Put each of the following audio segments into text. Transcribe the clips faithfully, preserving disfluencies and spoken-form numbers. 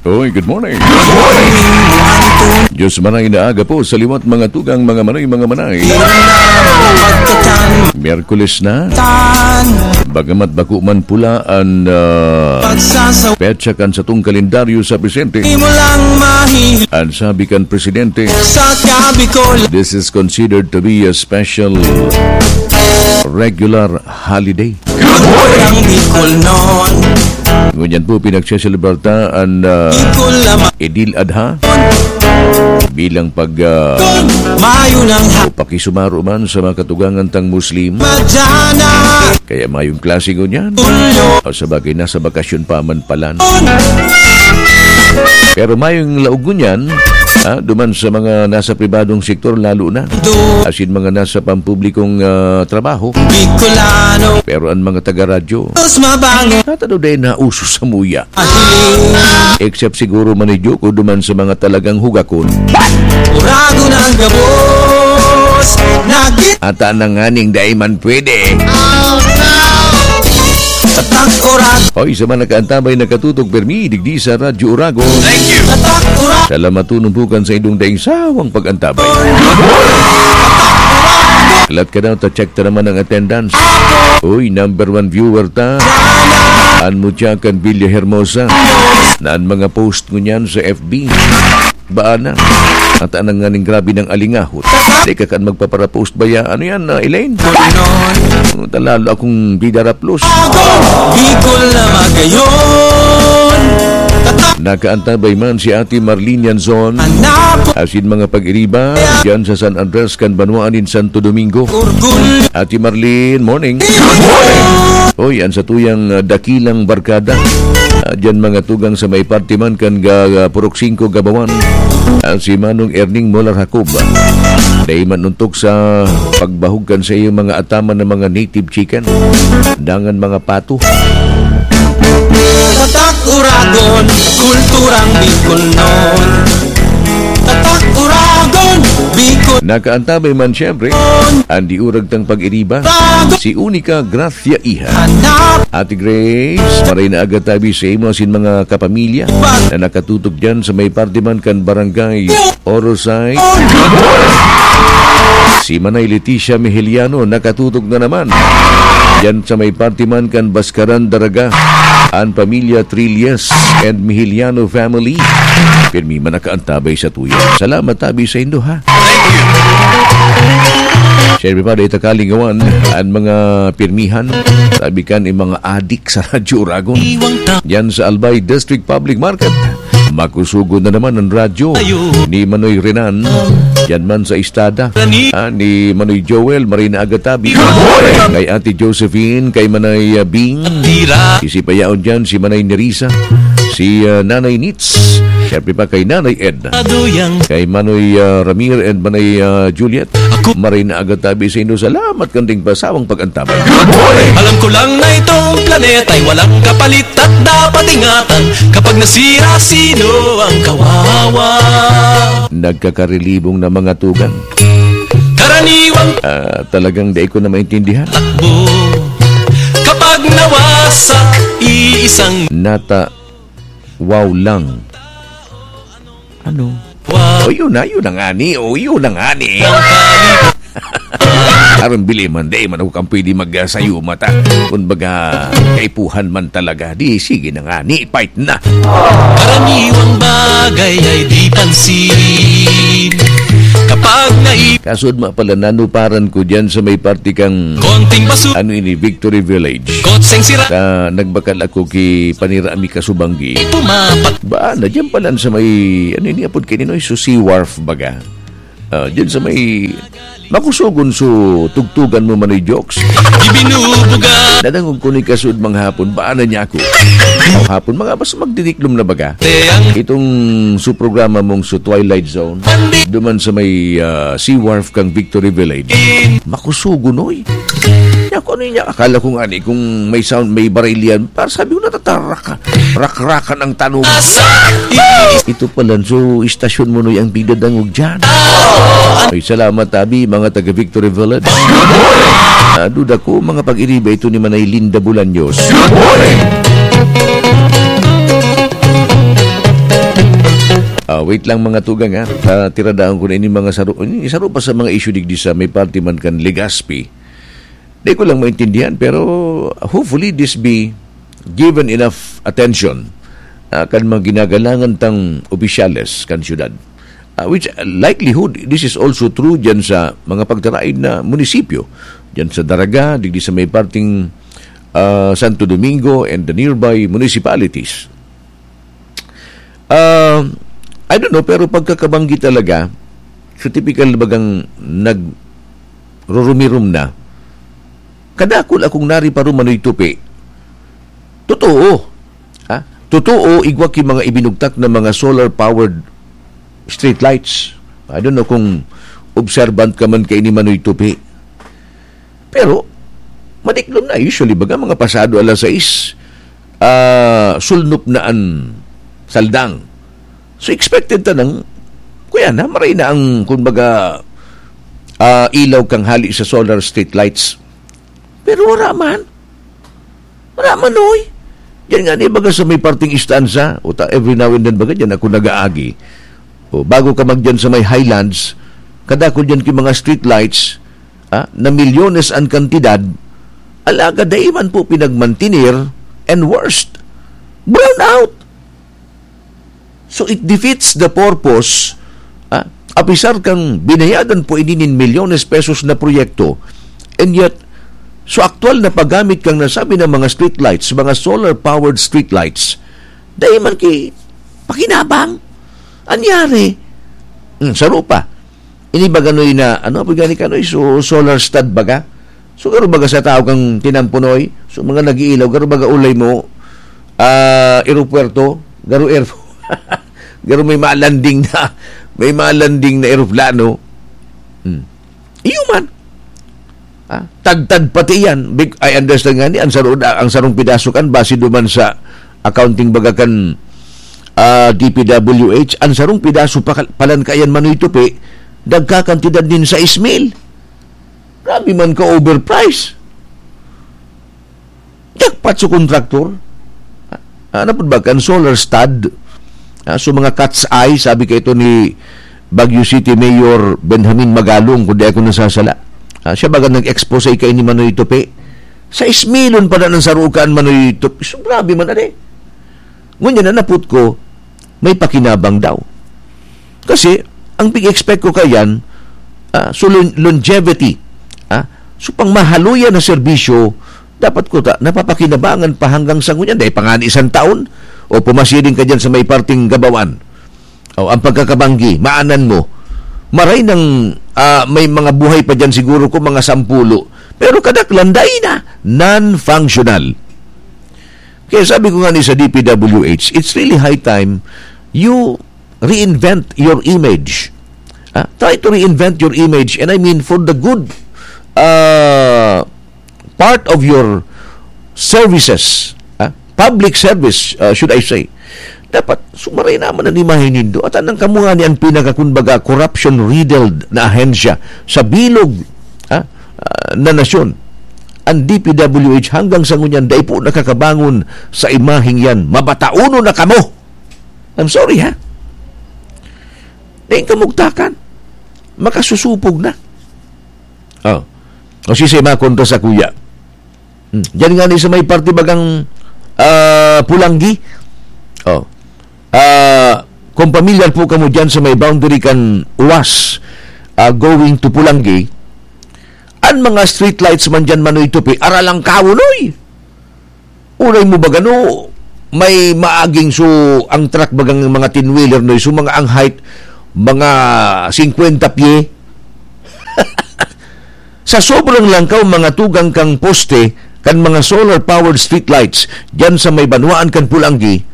Oy, good morning. Diyos manay na aga po sa liwat, mga tugang, mga manay, mga manay. Miyerkules na. Bagamat bako man pula an, ah, petsa kan satong kalendaryo sa presente, an sabi kan presidente, this is considered to be a special regular holiday. Ngunyan po, pinagseselebrarta an, ah, Eid al-Adha bilang pag, ah, o pakisumaro man sa mga katugangan tang Muslim. Kaya mayong klase ngunyan. O sa bagay, nasa bakasyon pa man palan. Pero mayong laog ngunyan, ha, duman sa mga nasa pribadong sektor lalo na. Asin mga nasa pampublikong, ah, trabaho. Pero an mga taga-radyo, tatano dai nauso sa muya. Except siguro, Manay Joko, duman sa mga talagang hugakon. Uragon ang gabos, nagit- Ata na nganing dai man pwede. Tatak Uragon. Hoy, sa mga nakaantabay, nakatutok permi digdi sa Radyo Uragon. Tatak Uragon. Salamat tunong bukan sa indong daing sawang pag-antabay. Lahat ka daw, ta-check ta naman ang attendance. Uy, number one viewer ta. An mutya kan Villa Hermosa. Na an mga post ngunyan sa F B. Baan na. At anang nganing grabe ng alingahot. Di ka kan magpaparapost ba ya? Ano yan, ah, Elaine? Talalo akong bidaraplos. Bicol na magayon. Nakaantabay man si Ate Marlene Yanzon. Asin mga pag-iriba, dyan sa San Andres kan banwaan nin Santo Domingo. Ate Marlene, morning. Oy, an satuyang, ah, dakilang barkada. Ah, dyan mga tugang sa may parte man kan ga-, ah, Purok Singko, Gabawan. Ah, si Manong Erning Molar Jacob. Dai man untok sa pagbahog kan sa iyong mga ataman ng mga native chicken. Dangan mga pato. Tatak Uragon, kulturang Bicolnon. Tatak Uragon, Bicol. Nakaantabay man, siyempre, an diurag tang pag-iriba, si Unica Gracia Iha. Hanap. Ate Grace, maray na aga tabi sa imo asin mga kapamilya na nakatutok dyan sa may parte man kan Barangay Orosay. Si Manay Leticia Mihiliano nakatutok na naman. Diyan sa may parte man kan Baskaran, Daraga, an pamilya Trillas and Mihiliano family. Pirmi man nakaantabay sa tuya. Salamat tabi sa indo, ha? Siyempre pa, dahil ta kalingawan, an mga pirmihan, tabi kan, yung mga adik sa Radyo Uragon. Yan sa Albay District Public Market. Makusugon na naman ang radyo ni Manoy Renan. Yan man sa Istada. Ah, ni Manoy Joel, maray na aga tabi. Kay Ate Josephine, kay Manay, ah, Bing. Isi pa yaon dyan, si Manay Nerissa, si, ah, Nanay Nits. Siyempre pa kay Nanay Ed. Kay Manoy, ah, Ramir and Manay, ah, Juliet. Ako. Maray na aga tabi sa inyo. Salamat kan ding pasawang pag-antabay. Alam ko lang na itong planeta'y walang kapalit at dapat ingatan. Kapag nasira, sino ang kawawa? Nagkakarelibong na mga tugang. Karaniwang Ah, talagang dai ko na maintindihan. Takbo. Kapag nawasak, iisang Nata, wow lang. Ano? Wow. O, yun na, yun na nga ni. O, yun na nga ni. Ang pali- Aron bili man, di man ako kang pwede mag, ah, sayo mata. Kung baga, kaipuhan man talaga. Di, sige na nga ni, fight na. Karaniwang bagay ay di pansin. Kapag nai- Kasud ma pala, nanuparan ko dyan sa may parte kang Konting basu- ano ini, Victory Village. Kotseng sira. Ta nagbakal ako ki Panira Ami Kasubanggi. Pumapat. Ba, na dyan pala sa may, ano ini, apod kaninoy, so sea wharf baga. Ah, dyan sa may makusugon so tugtugan mo man ni jokes. Ibinubuga. Nadangog ko ni kasud mga hapon, ba na niya ako? O hapon, mga basta magdiniklom na baga. Te ang Itong su programa mong su Twilight Zone, duman sa may, ah, Sea Wharf kang Victory Village. Makusugon, oy. Kaya kung ano niya, akala ko nga ni, kung may sound, may barilyan, para sabi ko, natataraka. Rakrakan ang tanong. Ito pala, so, istasyon mo, noy, ang pigdadangog dyan. Ay, salamat, tabi, mga taga Victory Village. Ah, duda ko, mga pag-iriba ito ni Manay Linda Bolaños. Oh, wait lang, mga tugang, ha. Ah, tiradaon ko na ini mga saro, ini saro pa sa mga issue digdi sa may parte man kan Legazpi. Di ko lang maintindihan, pero hopefully this be given enough attention, ah, kan mga ginagalangan tang opisyales kan syudad. Ah, which, ah, likelihood, this is also true dyan sa mga pagtaraid na munisipyo. Dyan sa Daraga, digdi sa may parting, ah, Santo Domingo and the nearby municipalities. Ah, I don't know, pero pagkakabanggi talaga, sa tipikal na bagang nagrurumirom na, kadakul akong nari pa rin manoy tupi. Totoo. Ha? Totoo, igwa ki mga ibinugtak na mga solar-powered streetlights. I don't know kung observant ka man kaini manoy tupi. Pero, madiklom na. Usually, baga, mga pasado alas sais, ah, sulnop na an saldang. So, expected ta nang, kuya na, maray na ang, kumbaga, ah, ilaw kang hali sa solar street lights. Pero wala man. Wala man, oy. Diyan nga ni, baga, sa may parting istansa, o ta, every now and then, baga, diyan ako nag-aagi. O, bago ka magdiyan sa may Highlands, kadakul diyan ki mga street lights, ah, na milyones an kantidad, alagad dai man po pinagmantener, and worst, brown out. So it defeats the purpose, ah, apisar kang binayadan po ini nin milyones pesos na proyekto, and yet, so aktual na paggamit kang nasabi ng mga street lights, mga solar-powered street lights, dai man ki pakinabang. Anyari? Hmm, saro pa. Ini ba ganoy na, ano, pag gani kanoy, so, solar stud baga? So, garo baga sa tao kang tinampunoy? So, mga nag-iilaw, garo baga ulay mo, ah, eropuwerto, garo air, garo may malanding na, may malanding na eroplano. Hmm. Iyo man. Ah, tagtad pati yan. Big, I understand nga ni, ang sarong, ang sarong pidaso kan, base duman sa accounting baga kan, ah, D P W H, ang sarong pidaso pa, palan kaiyan manoy tupi, nagkakantidad nin sais mil. Grabe man ka overprice. Jackpot sa kontraktor. Ah, ano po ba? Kan solar stud. Ah, so mga cat's eye, sabi ka ito ni Baguio City Mayor Benjamin Magalong, kung di ako nasasala. Ah, siya baga nag-expose kay ni Manoy Tupi. Sa ismilon pa na ng sarukan, Manoy Tupi. So, grabe man, ade. Ngunyan na naput ko, may pakinabang daw. Kasi, ang pig-expect ko kayan, ah, so lon-, longevity, ah, so pang mahaluyan na serbisyo, dapat ko ta, napapakinabangan pa hanggang sa ngunyan, dahil pa nga ni isang taon, o pumasiring ka dyan sa may parting Gabawan. O, ang pagkakabanggi, maanan mo, maray nang, ah, may mga buhay pa dyan siguro ko, mga sampulo. Pero kadaklan, dai na, non-functional. Kaya sabi ko nga ni sa D P W H, it's really high time you reinvent your image. Ah, try to reinvent your image, and I mean for the good, ah, part of your services, ah, public service, ah, should I say. Dapat sumaray naman ang imahe nindo. At anang kamuha ni ang pinakakunbaga corruption-riddled na ahensya sa bilog, ah, ah, na nasyon. Ang D P W H hanggang sa ngunyan, dai po nakakabangon sa imaheng yan. Mabataonon na kamo! I'm sorry, ha? Dai kamugtakan. Makasusupog na. Oh. O si Sema kontra sa kuya. Hmm. Diyan nga ni sa may parte bagang, ah, Pulanggi. Oh. Ah, kung familiar po kamo diyan sa may boundary kan Uwas, ah, going to Pulanggi, ang mga streetlights man diyan, Manoy Tupi, aralang kawon, oy! Uray mo ba gano, may maaging so, ang truck bagang mga ten-wheeler, no, so mga ang height, mga singkwenta pye. Sa sobrang langkaw, mga tugang kang poste, kan mga solar-powered streetlights, diyan sa may banwaan kan Pulanggi,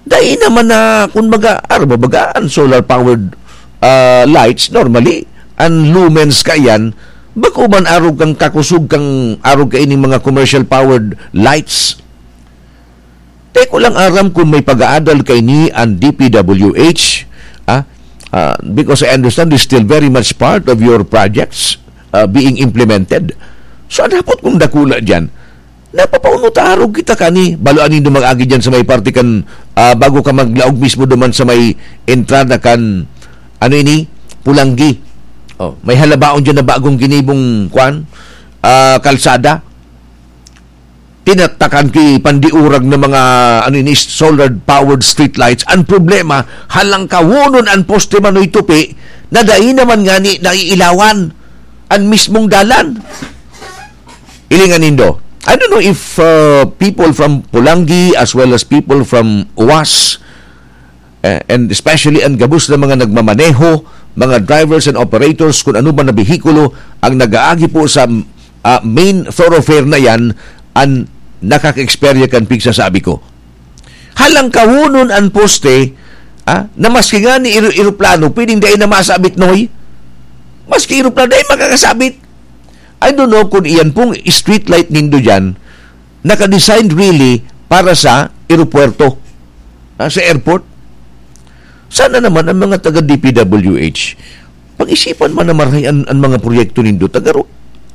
dai naman na, kung baga, aro ba baga, ang solar-powered, ah, lights, normally, ang lumens ka yan, bako man arog kang kakusog kang arog ka ining mga commercial-powered lights. Di ko lang aram kung may pag-aadal kaini ang D P W H, ah, ah, because I understand it's still very much part of your projects, ah, being implemented. So, ang dapat kong dakula dyan, Napapauno ta, arog kita kani. Baloan nindo mag-agi diyan sa may parte kan, ah, bago ka maglaog mismo duman sa may entrada kan, ano ini? Pulanggi. Oh, may halabaon diyan na bagong ginibong, kwan, ah, kalsada. Tinatakan ki pandiurag ng mga, ano ini, solar-powered streetlights. Ang problema, halangkawonon an poste manoy tupi, na dai naman ngani naiilawan an mismong dalan. Ilingan nindo. I don't know if, uh, people from Pulangi as well as people from Uwas, eh, and especially ang gabos na mga nagmamaneho, mga drivers and operators, kung ano man na behikulo ang nag-aagi po sa, ah, main thoroughfare na yan, ang nakaka-eksperya kan pigsasabi ko. Halangkawonon an poste, ah, na maski nga ni ero-, eroplano, pwedeng dai na masabit, Noy. Maski eroplano, dai makakasabit. I don't know kung iyan pong street light nindo dyan, naka-design really para sa eropuwerto, ah, sa airport. Sana naman ang mga taga D P W H, pag-isipan man na marahay an, an mga proyekto nindo, tagaro.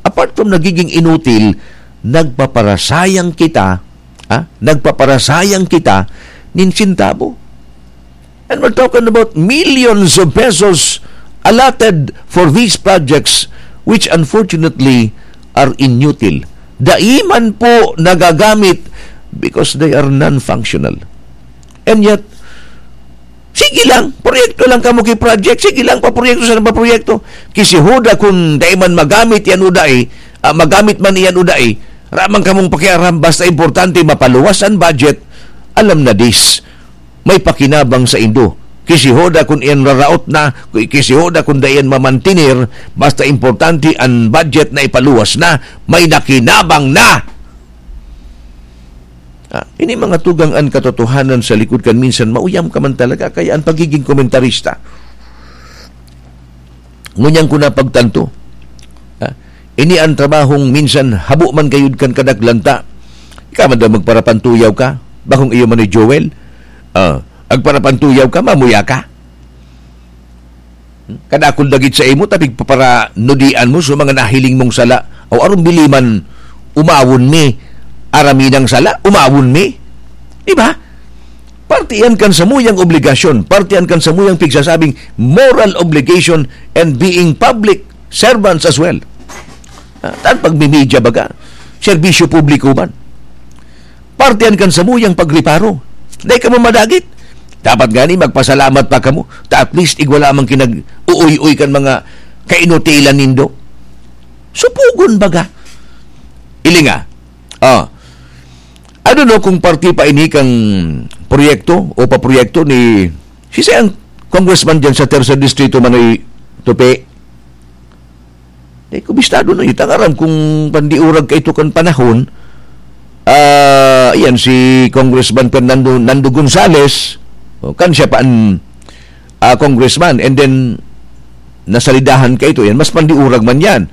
Apart from nagiging inutil, nagpaparasayang kita, ah, nagpaparasayang kita nin sintabo. And we're talking about millions of pesos allotted for these projects, which unfortunately are inutil. Dai man po nagagamit because they are non-functional. And yet, sige lang, proyekto lang kamo ki project, sige lang, paproyekto sa paproyekto. Kisihoda kung dai man magamit yan o dai, ah, magamit man iyan o dai, ramang kamong pakiaram, basta importante mapaluwas ang budget, alam na this. May pakinabang sa indo. Kisihoda kun iyan raraot na, kisihoda kun dai iyan mamantener, basta importante an budget na ipaluwas na, may nakinabang na. Ah, ini mga tugang an katotohanan sa likod kan minsan mauyam ka man talaga, kaya an pagiging komentarista. Ngunyan ko napagtanto, ha? Ini an trabahong minsan habo man gayud kan kadaklan ta. Ika man daw magparapantuyaw ka, bakong iyo man ni Joel. Ah, agparapantuyaw ka, mamuya ka. Kadakul dagit sa imo, tapig paparanudian mo sa mga nahiling mong sala. O aron bili man, umawon mi. Araminang sala, umawon mi. Di ba? Parte yan kan samuyang obligasyon, parte yan kan samuyang pigsasabing moral obligation and being public servants as well. Ah, tan pagmimidya baga, serbisyo publiko man. Parte yan kan samuyang pagreparo. Dai ka mo madagit. Dapat gani magpasalamat pa kamo. Ta at least igwa lamang kinag-uoy-oy kan mga kainutilan nindo. Supugon baga. Ilinga. Ah. I don't know kung parte pa ini kang proyekto o paproyekto ni, si ang congressman dyan sa Tercer Distrito, Manoy Tupi. Di ko bistado na, itang aram kung pandiurag ka ito kan panahon. Ah, yan, si Congressman Fernando Nando Gonzales, o, kan siya pa an, ah, congressman, and then, nasalidahan ka ito. Yan, mas pandiurag man yan.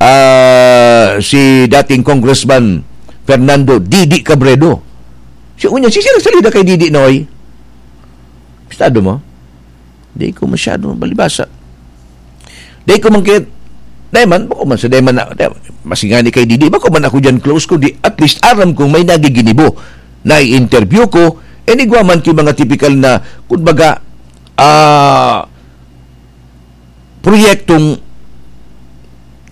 Ah, si dating Congressman Fernando Didi Cabredo. Si unya, si sila salida kay Didi, Noy? Estado mo? Di ko masyado mabalibasa. Di ko man kit-, di man, bako man sa di man na, di, masingani kay Didi, bako man ako dyan close ko, di, at least aram kong may nagiginibo. Na-interview ko, and igwa man ki mga typical na, kumbaga, ah, proyektong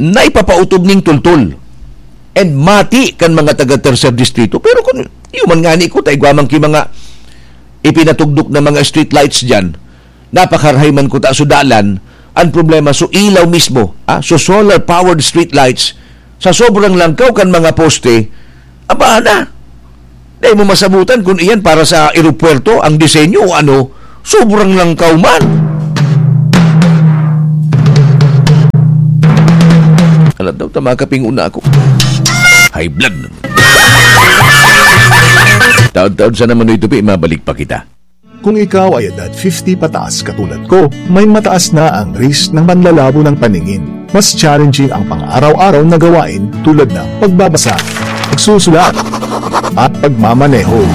naipapautob ning tultol and mati kan mga taga Tercer Distrito. Pero kung iyo man ngani ko, ta igwa man ki mga ipinatugdok na mga street lights dyan, napakarahay man ko ta so dalan, ang problema so ilaw mismo, ah, so solar powered street lights, sa sobrang langkaw kan mga poste, aba na. Dai mo masabutan kung iyan para sa eropuwerto ang disenyo o ano, sobrang langkaw man. Alam daw, tama kaping una ako. High blood. Taon-taon sa naman ito, Pi, mabalik pa kita. Kung ikaw ay edad fifty pataas katulad ko, may mataas na ang risk ng panlalabo ng paningin. Mas challenging ang pang-araw-araw na gawain tulad ng pagbabasa, pagsusulat, at pagmamaneho.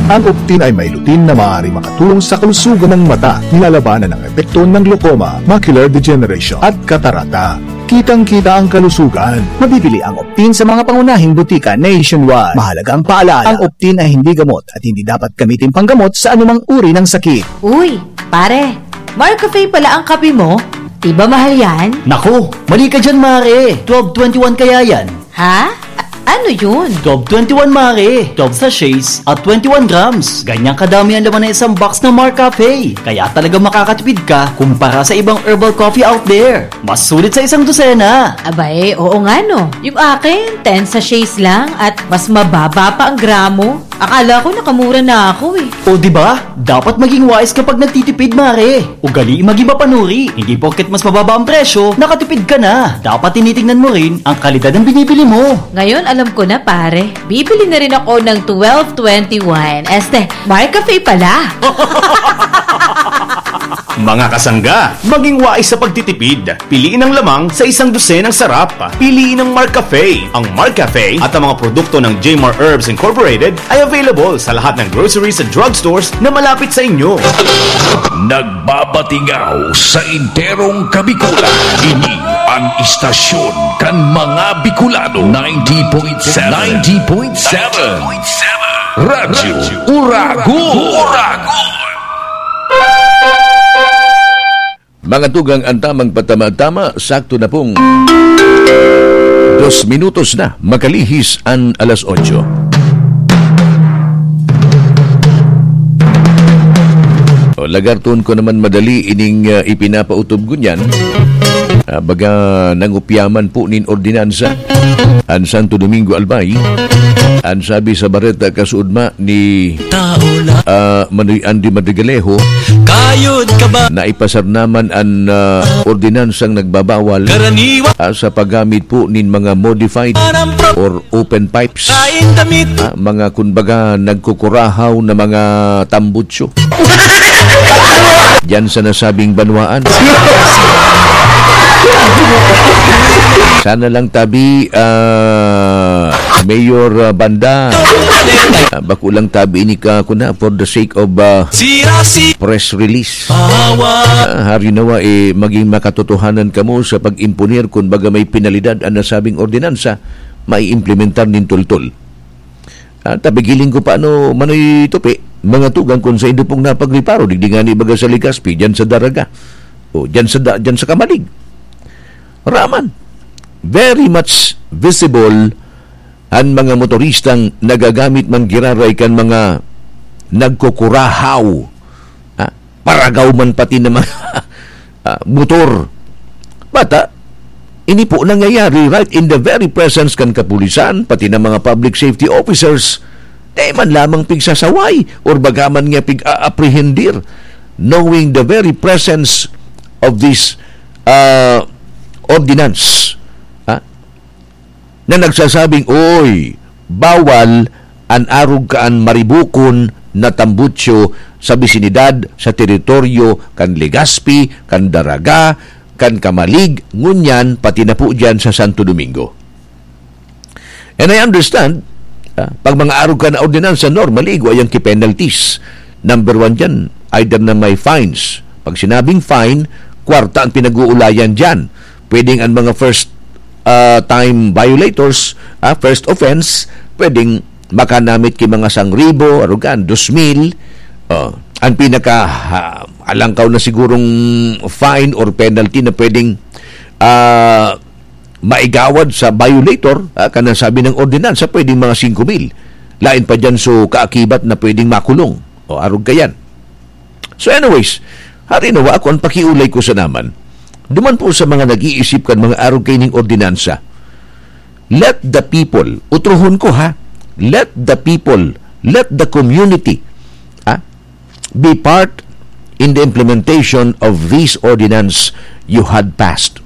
Ang Optin ay may lutein na maaari makatulong sa kalusugan ng mata, nilalabanan ang epekto ng glaucoma, macular degeneration, at katarata. Kitang-kita ang kalusugan. Mabibili ang Optin sa mga pangunahing butika nationwide. Mahalagang paalala, ang Optin ay hindi gamot at hindi dapat gamitin panggamot sa anumang uri ng sakit. Uy, pare, Marcafe pala ang kape mo? Di ba mahal yan? Naku, mali ka dyan, mare. Twelve twenty-one kaya yan. Ha? A-, ano yun? Twelve twenty-one, mare. Twelve sachets at twenty-one grams. Ganyang kadami ang laman ng isang box ng Marcafe. Kaya talaga makakatipid ka kumpara sa ibang herbal coffee out there. Mas sulit sa isang dosena. Abay, oo nga no. Yung akin, ten sachets lang at mas mababa pa ang gramo. Akala ko nakamura na ako eh. O, di ba? Dapat maging wais kapag nagtitipid, mare. Ugali maging mapanuri. Hindi porket mas mababa ang presyo, nakatipid ka na. Dapat tinitingnan mo rin ang kalidad ng binibili mo. Ngayon, alam ko na, pare. Bibili na rin ako ng twelve twenty-one. Este, Marcafe pala. Mga kasangga, maging wais sa pagtitipid. Piliin ang lamang sa isang dosenang sarap. Piliin ang Marcafe. Ang Marcafe at ang mga produkto ng Jmar Herbs Incorporated ay available sa lahat ng groceries at drugstores na malapit sa inyo. Nagbabatingaw sa enterong Kabikulan. Ini ang istasyon kan mga Bicolano. Ninety point seven. Ninety point seven. Radyo Uragon. Mga tugang, ang tamang patama-tama, sakto na pong dos minutos na makalihis an alas otso. O, lagarton ko naman madali ining, ah, ipinapautob ngunyan. Ah, baga nangupyaman po nin ordinansa an Santo Domingo Albay. An sabi sa bareta, kasuodma ni, ah, Manoy Andy Madrigalejo, Kayod ka ba? Naipasar naman an, ah, ordinansang nagbabawal, Karaniwan ah, sa paggamit po nin mga modified or open pipes. Kain damit. Ah, mga, kumbaga, nagkukurahaw na mga tambutsyo. Diyan sa nasabing banwaan. Sana lang tabi, ah, Mayor, ah, Banda. Ah, bako lang tabi ini ka, kuna, for the sake of, ah, Sira si press release. Pahawa. Ah, hari nawa, eh, maging makatotohanan kamo sa pag-imponer kun baga may penalidad an nasabing ordinansa, maiimplementar nin tultol. Ah, tabi giling ko pa ano, Manoy Tupi, mga tugang, kun saindo pong napagriparo, digdi ngani baga sa Legazpi, diyan sa Daraga, o diyan sa da-, diyan sa Camalig. Raman, very much visible an mga motoristang nagagamit man giraray kan mga nagkukurahaw, ah, paragaw man pati na mga, ah, motor. Bata, ini po nangyayari right in the very presence kan kapulisan, pati na mga public safety officers. Di man lamang pigsasaway or bagaman nga pig-a-apprehendir, knowing the very presence of this, ah, ordinance, ah, na nagsasabing, "Uy, bawal an arog kaan maribukon na tambutsyo sa bisinidad, sa teritoryo kan Legazpi, kan Daraga, kan Camalig, ngunyan pati na po diyan sa Santo Domingo." And I understand, ah, pag mga arog kaan na ordinansa, normally, igwa yang ki-penalties. Number one diyan, either na may fines. Pag sinabing fine, kwarta ang pinag-uulayan diyan. Pwedeng ang mga first, ah, time violators, ah, first offense, pwedeng makanamit ki mga sangribo, arugan, dos mil. Oh, ang pinaka, ah, alangkaw na sigurong fine or penalty na pwedeng, ah, maigawad sa violator, ah, kan nasabi ng ordinansa, pwedeng mga singko mil. Lain pa diyan, so, kaakibat na pwedeng makulong. O, arog kayan. So anyways, hari nawa, ako, ang pakiulay ko sa naman, duman po sa mga nag-iisip kan mga arog kaining ordinansa, let the people, utrohon ko ha, let the people, let the community, ah, be part in the implementation of this ordinance you had passed.